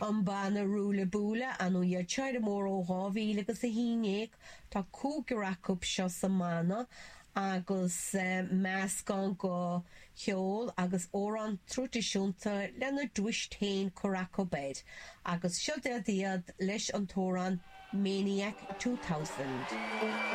An banna Ruaille Buaille, ar ndóigh iad seo ar an mbóthar ó 2011, tá cúigear acu seo sa mbanna agus meascán de cheol agus amhráin traidisiúnta lena dtwist féin curtha acu air agus seo iad leis an t-amhrán Maniac 2000.